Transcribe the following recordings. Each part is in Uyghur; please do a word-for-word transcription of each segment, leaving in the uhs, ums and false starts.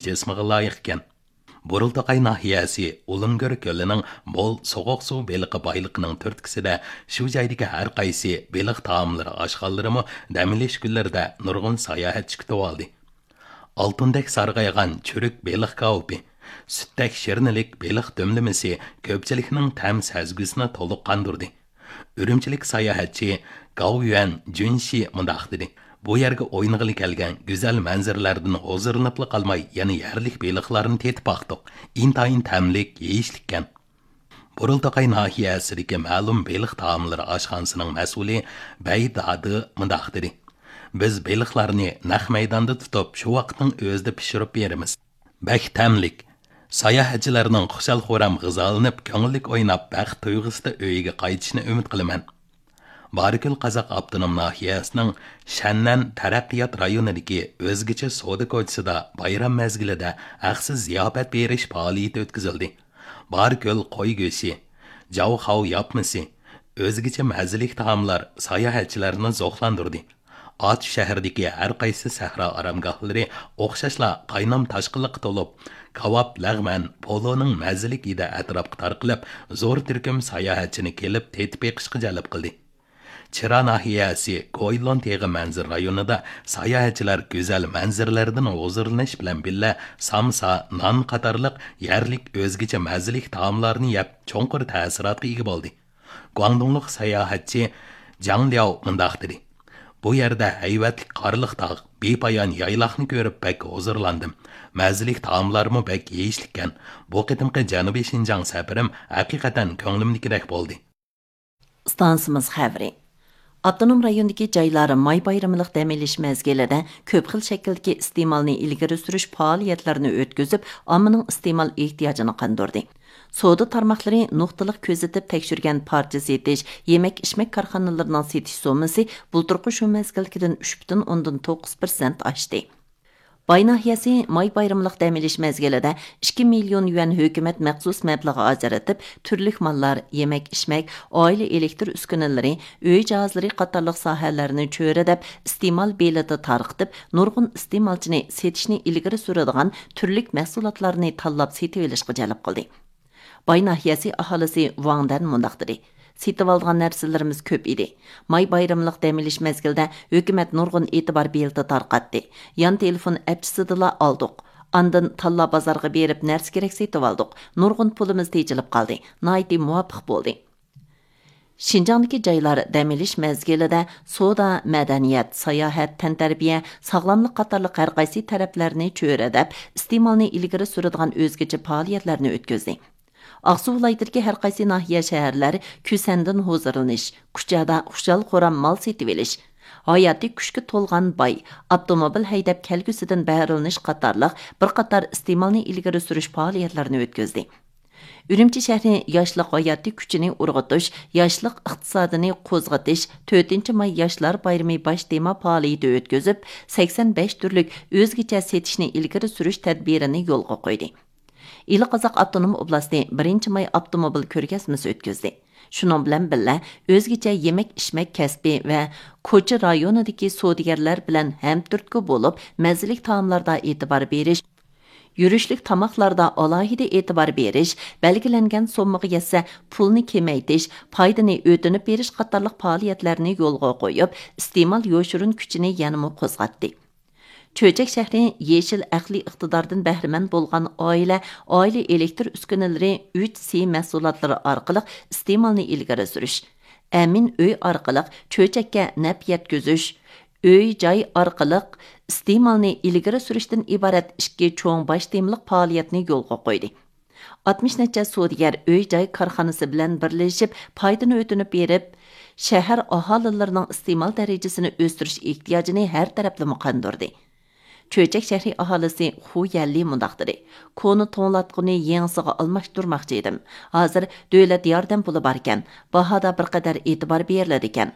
جىسمىغا لايىق ئىكەن. بۇرۇلتاقاي ناھىيەسى ئۇلۇنگۆر كۆلىنىڭ مول سوغۇق سۇ بېلىقى بايلىقىنىڭ تۈرتكىسىدە شۇ جايدىكى ھەر قايسى بېلىق تائاملىرى ئاشخانىلىرىمۇ دەم ئېلىش كۈنلىرىدە نۇرغۇن ساياھەتچى كۈتۈۋالدى. ئالتۇندەك سارغايغان چۈرۈك بېلىق كاۋىپى، سۈتتەك شىرنىلىك بېلىق دۈملىمىسى كۆپچىلىكنىڭ تەم سەزگۈسىنى تولۇق قاندۇردى. ئۈرۈمچىلىك ساياھەتچى گاۋيۈەن جۈنشى مۇنداق دېدى: «بۇ يەرگە ئوينىغىلى كەلگەن گۈزەل مەنزىرىلەردىن ھۇزۇرلىنىپلا قالماي، يەنە يەرلىك بېلىقلارنى تېتىپ باقتۇق. ئىنتايىن تەملىك، يېيىشلىككەن.» بۇرۇلتاقاي ناھىيەسىدىكى مەلۇم بېلىق تائاملىرى ئاشخانىسىنىڭ مەسئۇلى بەي دادى مۇنداق دېدى: «بىز بېلىقلارنى نەق مەيداندا تۇتۇپ، شۇ ۋاقىتنىڭ ئۆزىدە پىشۇرۇپ بېرىمىز. بەك تەملىك. ساياھەتچىلەرنىڭ خۇشال-خۇرام غىزالىنىپ، كۆڭۈللۈك ئويناپ، بەخت تۇيغۇسىدا ئۆيىگە قايتىشىنى ئۈمىد قىلىمەن.» بارىكۆل قازاق ئاپتونوم ناھىيەسىنىڭ شەننەن تەرەققىيات رايونىدىكى ئۆزگىچە سودا كوچىسىدا بايرام مەزگىلىدە ھەقسىز زىياپەت بېرىش پائالىيىتى ئۆتكۈزۈلدى. بارىكۆل قوي گۆشى، جاۋخاۋ ياپمىسى، ئۆزگىچە مەززىلىك تائاملار ساياھەتچىلەرنى زوقلاندۇردى. ئاتۇش شەھىرىدىكى ھەر قايسى سەھرا ئارامگاھلىرى ئوخشاشلا قاينام تاشقىنلىققا تولۇپ، كاۋاپ، لەغمەن، پولۇنىڭ مەززىلىك ھىدى ئەتراپقا تارقىلىپ، زور تۈركۈم ساياھەتچىنى كېلىپ تېتىپ بېقىشقا جەلپ قىلدى. چىرا ناھىيەسى گويلون تېغى مەنزىرە رايونىدا ساياھەتچىلەر گۈزەل مەنزىرىلەردىن ھۇزۇرلىنىش بىلەن بىللە سامسا، نان قاتارلىق يەرلىك ئۆزگىچە مەززىلىك تائاملارنى يەپ، چوڭقۇر تەسىراتقا ئىگە بولدى. گۇاڭدۇڭلۇق ساياھەتچى جاڭ لياۋ مۇنداق دېدى: «بۇ يەردە ھەيۋەتلىك قارلىق تاغ، بىپايان يايلاقنى كۆرۈپ بەك ھۇزۇرلاندىم. مەززىلىك تائاملارمۇ بەك يېيىشلىككەن. بۇ قېتىمقى جەنۇبىي شىنجاڭ سەپىرىم ھەقىقەتەن كۆڭلۈمدىكىدەك بولدى.» ئىستانسىمىز خەۋىرى. ئاپتونوم رايوندىكى جايلار ماي بايرىملىق دەم ئېلىش مەزگىلىدە كۆپ خىل شەكىلدىكى ئىستېمالنى ئىلگىرى سۈرۈش پائالىيەتلىرىنى ئۆتكۈزۈپ، ئاممىنىڭ ئىستېمال ئېھتىياجىنى قاندۇردى. سودا تارماقلىرى نۇقتىلىق كۆزىتىپ تەكشۈرگەن پارچە سېتىش، يېمەك-ئىچمەك كارخانىلىرىنىڭ سېتىش سوممىسى بۇلتۇرقى شۇ مەزگىلدىكىدىن ئۈچ پۈتۈن ئوندىن توققۇز پىرسەنت ئاشتى. باي ناھىيەسى ماي بايرىملىق دەم ئېلىش مەزگىلىدە ئىككى مىليون يۈەن ھۆكۈمەت مەخسۇس مەبلىغى ئاجرىتىپ، تۈرلۈك ماللار، يېمەك-ئىچمەك، ئائىلە ئېلېكتىر ئۈسكۈنىلىرى، ئۆي جاھازلىرى قاتارلىق ساھەلەرنى چۆرىدەپ، ئىستېمال بېلىتى تارقىتىپ، نۇرغۇن ئىستېمالچىنى سېتىشنى ئىلگىرى سۈرىدىغان تۈرلۈك مەھسۇلاتلارنى تاللاپ سېتىۋېلىشقا جەلپ قىلدى. باي ناھىيەسى ئاھالىسى ۋاڭ دەن مۇنداق دېدى: «سېتىۋالىدىغان نەرسىلىرىمىز كۆپ ئىدى. ماي بايرىملىق دەم ئېلىش مەزگىلىدە ھۆكۈمەت نۇرغۇن ئېتىبار بېلىتى تارقاتتى. يان تېلېفون ئەپچىسىدىلا ئالدۇق. ئاندىن تاللا بازارغا بېرىپ نەرسە كېرەك سېتىۋالدۇق. نۇرغۇن پۇلىمىز تېجىلىپ قالدى. ناھايىتى مۇۋاپىق بولدى.» شىنجاڭدىكى جايلار دەم ئېلىش مەزگىلىدە سودا، مەدەنىيەت، ساياھەت، تەنتەربىيە، ساغلاملىق قاتارلىق ھەر قايسى تەرەپلەرنى چۆرىدەپ، ئىستېمالنى ئىلگىرى سۈرىدىغان ئۆزگىچە پائالىيەتلەرنى ئۆتكۈزدى. ئاقسۇ ۋىلايىتىدىكى ھەر قايسى ناھىيە، شەھەرلەر كۈسەندىن ھۇزۇرلىنىش، كۇچادا خۇشال-خۇرام مال سېتىۋېلىش، ھاياتىي كۈچكە تولغان باي، ئاپتوموبىل ھەيدەپ كەلگۈسىدىن بەھرىلىنىش قاتارلىق بىر قاتار ئىستېمالنى ئىلگىرى سۈرۈش پائالىيەتلىرىنى ئۆتكۈزدى. ئۈرۈمچى شەھىرى ياشلىق ھاياتىي كۈچىنى ئۇرغۇتۇش، ياشلىق ئىقتىسادىنى قوزغىتىش تۆتىنچى ماي ياشلار بايرىمى باش تېما پائالىيىتى ئۆتكۈزۈپ، سەكسەن بەش تۈرلۈك ئۆزگىچە سېتىشنى ئىلگىرى سۈرۈش تەدبىرىنى يولغا قويدى. ئىلى قازاق ئاپتونوم ئوبلاستى بىرىنچى ماي ئاپتوموبىل كۆرگەزمىسى ئۆتكۈزدى. شۇنىڭ بىلەن بىللە، ئۆزگىچە يېمەك-ئىچمەك كەسپى ۋە كوچا رايونىدىكى سودىگەرلەر بىلەن ھەمتۈرتكە بولۇپ، مەززىلىك تائاملاردا ئېتىبار بېرىش، يۈرۈشلۈك تاماقلاردا ئالاھىدە ئېتىبار بېرىش، بەلگىلەنگەن سوممىغا يەتسە، پۇلنى كېمەيتىش، پايدىنى ئۆتۈنۈپ بېرىش قاتارلىق پائالىيەتلەرنى يولغا قويۇپ، ئىستېمال يوشۇرۇن كۈچىنى يەنىمۇ قوزغاتتى. چۆچەك شەھىرى يېشىل ئەقلىي ئىقتىداردىن بەھرىمەن بولغان ئائىلە، ئائىلە ئېلېكتىر ئۈسكۈنىلىرى ئۈچ سى مەھسۇلاتلىرى ئارقىلىق ئىستېمالنى ئىلگىرى سۈرۈش، ئەمىن ئۆي ئارقىلىق چۆچەككە نەپ يەتكۈزۈش، ئۆي جاي ئارقىلىق ئىستېمالنى ئىلگىرى سۈرۈشتىن ئىبارەت ئىككى چوڭ باش تېمىلىق پائالىيەتنى يولغا قويدى. ئاتمىش نەچچە سودىگەر ئۆي جاي كارخانىسى بىلەن بىرلىشىپ پايدىنى ئۆتۈنۈپ بېرىپ، شەھەر ئاھالىلىرىنىڭ ئىستېمال دەرىجىسىنى ئۆستۈرۈش ئېھتىياجىنى ھەر تەرەپلىمە قاندۇردى. چۆچەك شەھىرى ئاھالىسى خۇ يەنلى مۇنداق دېدى: «كونا توڭلاتقۇنى يېڭىسىغا ئالماشتۇرماقچى ئىدىم. ھازىر دۆلەت ياردەم پۇلى باركەن، باھادا بىر قەدەر ئېتىبار بېرىلىدىكەن.»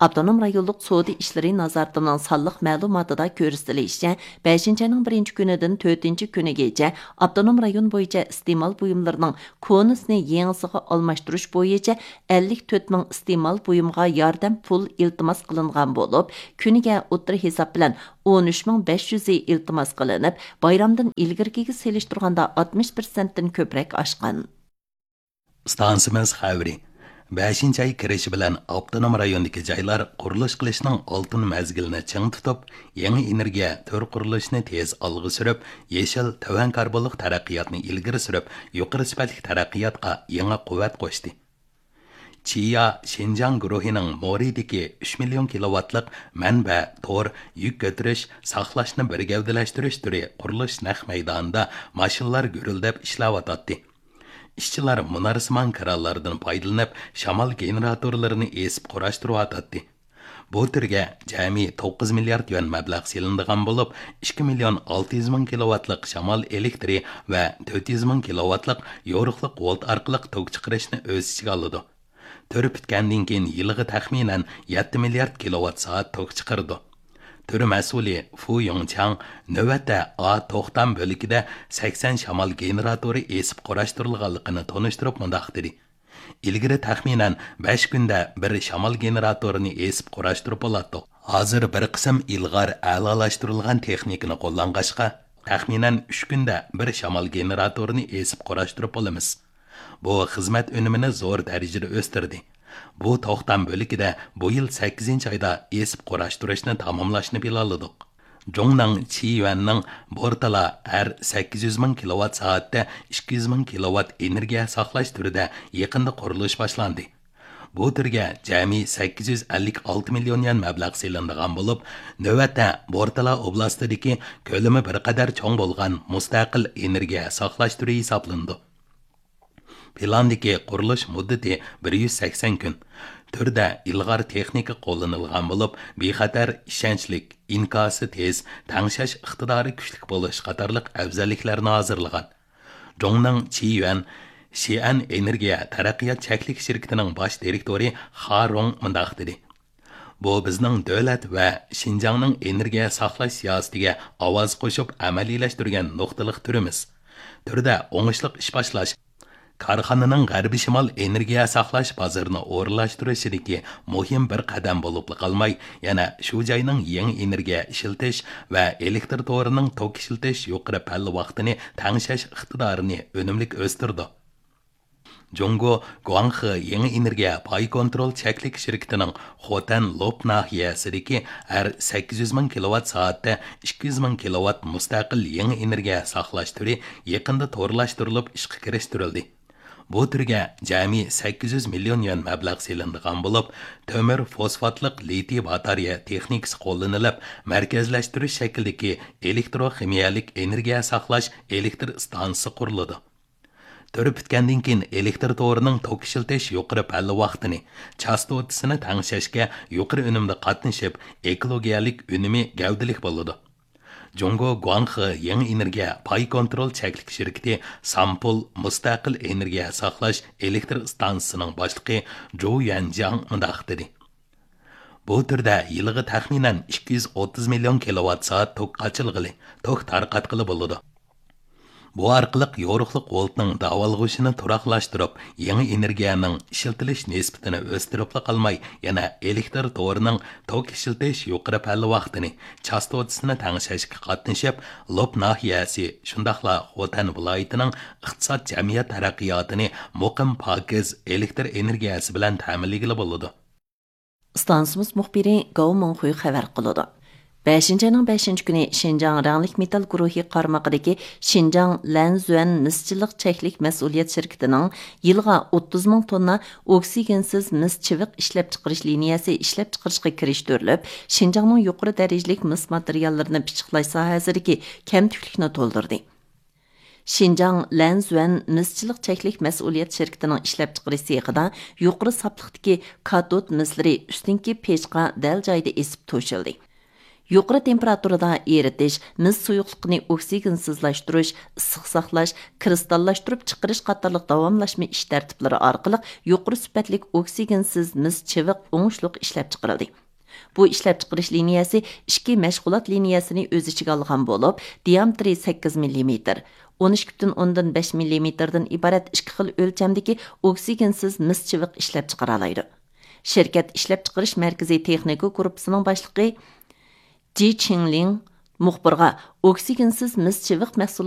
ئاپتونوم رايونلۇق سودا ئىشلىرى نازارىتىنىڭ سانلىق مەلۇماتىدا كۆرسىتىلىشىچە، بەشىنچى ئاينىڭ بىرىنچى كۈنىدىن تۆتىنچى كۈنىگىچە ئاپتونوم رايون بويىچە ئىستېمال بۇيۇملىرىنىڭ كونىسىنى يېڭىسىغا ئالماشتۇرۇش بويىچە ئەللىك تۆت مىڭ ئىستېمال بۇيۇمغا ياردەم پۇل ئىلتىماس قىلىنغان بولۇپ، كۈنىگە ئوتتۇرا ھېساب بىلەن ئون ئۈچ مىڭ بەش يۈزى ئىلتىماس قىلىنىپ، بايرامدىن ئىلگىرىكىگە سېلىشتۇرغاندا ئاتمىش پىرسەنتتىن كۆپرەك ئاشقان. ئىستانسىمىز خەۋىرى. بەشىنچى ئاي كىرىشى بىلەن ئاپتونوم رايوندىكى جايلار قۇرۇلۇش قىلىشنىڭ ئالتۇن مەزگىلىنى چىڭ تۇتۇپ، يېڭى ئېنېرگىيە تۈر قۇرۇلۇشىنى تېز ئالغا سۈرۈپ، يېشىل، تۆۋەن كاربونلۇق تەرەققىياتنى ئىلگىرى سۈرۈپ، يۇقىرى سۈپەتلىك تەرەققىياتقا يېڭى قۇۋۋەت قوشتى. چىيا شىنجاڭ گۇرۇھىنىڭ مورىدىكى ئۈچ مىليون كىلوۋاتلىق مەنبە، تور، يۈك كۆتۈرۈش، ساقلاشنى بىر گەۋدىلەشتۈرۈش تۈرى قۇرۇلۇش نەق مەيدانىدا ماشىنىلار گۈرۈلدەپ ئىشلەۋاتاتتى. ئىشچىلار مۇنارسىمان كرانلاردىن پايدىلىنىپ، شامال گېنېراتورلىرىنى ئېسىپ قۇراشتۇرۇۋاتاتتى. بۇ تۈرگە جەمئىي توققۇز مىليارد يۈەن مەبلەغ سېلىنىدىغان بولۇپ، ئىككى مىليون ئالتە يۈز مىڭ كىلوۋاتلىق شامال ئېلېكتىرى ۋە تۆت يۈز مىڭ كىلوۋاتلىق يورۇقلۇق ۋولت ئارقىلىق توك چىقىرىشنى ئۆز ئىچىگە ئالىدۇ. تۈر پۈتكەندىن كېيىن يىلىغا تەخمىنەن يەتتە مىليارد كىلوۋات سائەت توك چىقىرىدۇ. تۈر مەسئۇلى فۇ يۇڭچياڭ نۆۋەتتە ئا توختام بۆلىكىدە سەكسەن شامال گېنېراتورى ئېسىپ قۇراشتۇرۇلغانلىقىنى تونۇشتۇرۇپ مۇنداق دېدى: ئىلگىرى تەخمىنەن بەش كۈندە بىر شامال گېنېراتورىنى ئېسىپ قۇراشتۇرۇپ بولاتتۇق. ھازىر بىر قىسىم ئىلغار ئەلالاشتۇرۇلغان تېخنىكىنى قوللانغاچقا، تەخمىنەن ئۈچ كۈندە بىر شامال گېنېراتورىنى ئېسىپ قۇراشتۇرۇپ بولىمىز. بۇ خىزمەت ئۈنۈمىنى زور دەرىجىدە ئۆستۈردى. بۇ توختام بۆلىكىدە بۇ يىل سەككىزىنچى ئايدا ئېسىپ قۇراشتۇرۇشنى تاماملاشنى پىلانلىدۇق. جۇڭنىڭ چىيۈەننىڭ بورتالا ھەر سەككىز يۈز مىڭ كىلوۋات سائەتتە ئىككى يۈز مىڭ كىلوۋات ئېنېرگىيە ساقلاش تۈرىدە يېقىندا قۇرۇلۇش باشلاندى. بۇ تۈرگە جەمئىي سەككىز يۈز ئەللىك ئالتە مىليون يۈەن مەبلەغ سېلىنىدىغان بولۇپ، نۆۋەتتە بورتالا ئوبلاستىدىكى كۆلىمى بىر قەدەر چوڭ بولغان مۇستەقىل ئېنېرگىيە ساقلاش تۈرى ھېسابلىنىدۇ. پىلاندىكى قۇرۇلۇش مۇددىتى بىر يۈز سەكسەن كۈن. تۈردە ئىلغار تېخنىكا قوللىنىلغان بولۇپ، بىخەتەر، ئىشەنچلىك، ئىنكاسى تېز، تەڭشەش ئىقتىدارى كۈچلۈك بولۇش قاتارلىق ئەۋزەللىكلەرنى ھازىرلىغان. جۇڭنىڭ چىيۈەن شىئەن ئېنېرگىيە تەرەققىيات چەكلىك شىركىتىنىڭ باش دىرېكتورى خا رۇڭ مۇنداق دېدى: بۇ بىزنىڭ دۆلەت ۋە شىنجاڭنىڭ ئېنېرگىيە ساقلاش سىياسىتىگە ئاۋاز قوشۇپ ئەمەلىيلەشتۈرگەن نۇقتىلىق تۈرىمىز. تۈردە ئوڭۇشلۇق ئىش باشلاش، كارخانىنىڭ غەربىي شىمال ئېنېرگىيە ساقلاش بازىرىنى ئورۇنلاشتۇرۇشىدىكى مۇھىم بىر قەدەم بولۇپلا قالماي، يەنە شۇ جاينىڭ يېڭى ئېنېرگىيە ئىشلىتىش ۋە ئېلېكتر تورىنىڭ توك ئىشلىتىش يۇقىرى پەللە ۋاقتىنى تەڭشەش ئىقتىدارىنى ئۈنۈملۈك ئۆستۈرىدۇ. جۇڭگو گۇاڭخې يېڭى ئېنېرگىيە پاي كونترول چەكلىك شىركىتىنىڭ خوتەن لوپ ناھىيەسىدىكى ھەر سەككىز يۈز مىڭ كىلوۋات سائەتتە ئىككى يۈز مىڭ كىلوۋات مۇستەقىل يېڭى ئېنېرگىيە ساقلاش تۈرى يېقىندا تورلاشتۇرۇلۇپ ئىشقا كىرىشتۈرۈلدى. بۇ تۈرگە جەمئىي سەككىز يۈز مىليون يۈەن مەبلەغ سېلىنىدىغان بولۇپ، تۆمۈر فوسفاتلىق لىتىي باتارېيە تېخنىكىسى قوللىنىلىپ، مەركەزلەشتۈرۈش شەكلىدىكى ئېلېكتروخىمىيەلىك ئېنېرگىيە ساقلاش ئېلېكتر ئىستانسىسى قۇرۇلىدۇ. تۈر پۈتكەندىن كېيىن ئېلېكتر تورىنىڭ توك ئىشلىتىش يۇقىرى پەللە ۋاقتىنى، چاستوتىسىنى تەڭشەشكە يۇقىرى ئۈنۈمدە قاتنىشىپ، ئېكولوگىيەلىك ئۈنۈمى گەۋدىلىك بولىدۇ. جۇڭگو گۇاڭخې يېڭى ئېنېرگىيە پاي كونترول چەكلىك شىركىتى سامپۇل مۇستەقىل ئېنېرگىيە ساقلاش ئېلېكتر ئىستانسىسىنىڭ باشلىقى جۇ يۈەنجياڭ مۇنداق دېدى: بۇ تۈردە يىلىغا تەخمىنەن ئىككى يۈز ئوتتۇز مىليون كىلوۋات سائەت توك قاچىلىغىلى، توك تارقاتقىلى بولىدۇ. بۇ ئارقىلىق يورۇقلۇق ۋولتنىڭ داۋالغۇشىنى تۇراقلاشتۇرۇپ، يېڭى ئېنېرگىيەنىڭ ئىشلىتىلىش نىسبىتىنى ئۆستۈرۈپلا قالماي، يەنە ئېلېكتر تورىنىڭ توك ئىشلىتىش يۇقىرى پەللە ۋاقتىنى، چاستوتىسىنى تەڭشەشكە قاتنىشىپ، لوپ ناھىيەسى، شۇنداقلا خوتەن ۋىلايىتىنىڭ ئىقتىساد جەمئىيەت تەرەققىياتىنى مۇقىم پاكىز ئېلېكتر ئېنېرگىيەسى بىلەن تەمىنلىگىلى بولىدۇ. ئىستانسىمىز مۇخبىرى گاۋ مىڭخۇي خەۋەر قىلىدۇ. بەشىنچى ئاينىڭ بەشىنچى كۈنى شىنجاڭ رەڭلىك مېتال گۇرۇھى قارمىقىدىكى شىنجاڭ لەنزۈەن مىسچىللىق چەكلىك مەسئۇلىيەت شىركىتىنىڭ يىلىغا ئوتتۇز مىڭ توننا ئوكسىگېنسىز مىس چىۋىق ئىشلەپچىقىرىش لىنىيەسى ئىشلەپچىقىرىشقا كىرىشتۈرۈلۈپ، شىنجاڭنىڭ يۇقىرى دەرىجىلىك مىس ماتېرىياللىرىنى پىششىقلاش ساھەسىدىكى كەمتۈكلۈكنى تولدۇردى. شىنجاڭ لەنزۈەن مىسچىللىق چەكلىك مەسئۇلىيەت شىركىتىنىڭ ئىشلەپچىقىرىش سېخىدا يۇقىرى ساپلىقتىكى كاتود مىسلىرى ئۈستۈنكى پېچقا دەل جايىدا ئېسىپ توشۇلدى. يۇقىرى تېمپېراتۇرىدا ئېرىتىش، مىس سۇيۇقلۇقىنى ئوكسىگېنسىزلاشتۇرۇش، ئىسسىق ساقلاش، كىرىستاللاشتۇرۇپ چىقىرىش قاتارلىق داۋاملاشما ئىش تەرتىپلىرى ئارقىلىق يۇقىرى سۈپەتلىك ئوكسىگېنسىز مىس چىۋىق ئوڭۇشلۇق ئىشلەپچىقىرىلدى. بۇ ئىشلەپچىقىرىش لىنىيەسى ئىككى مەشغۇلات لىنىيەسىنى ئۆز ئىچىگە ئالغان بولۇپ، دىيامېتىرى سەككىز مىللىمېتىر، ئون ئىككى پۈتۈن ئوندىن بەش مىللىمېتىردىن ئىبارەت ئىككى خىل ئۆلچەمدىكى ئوكسىگېنسىز مىس چىۋىق ئىشلەپچىقىرالايدۇ. شىركەت ئىشلەپچىقىرىش مەركىزى تېخنىكا گۇرۇپپىسىنىڭ باشلىقى جى چىڭلىڭ مۇخبىرغا ئوكسىگېنسىز مىس چىۋىق مەھسۇلاتى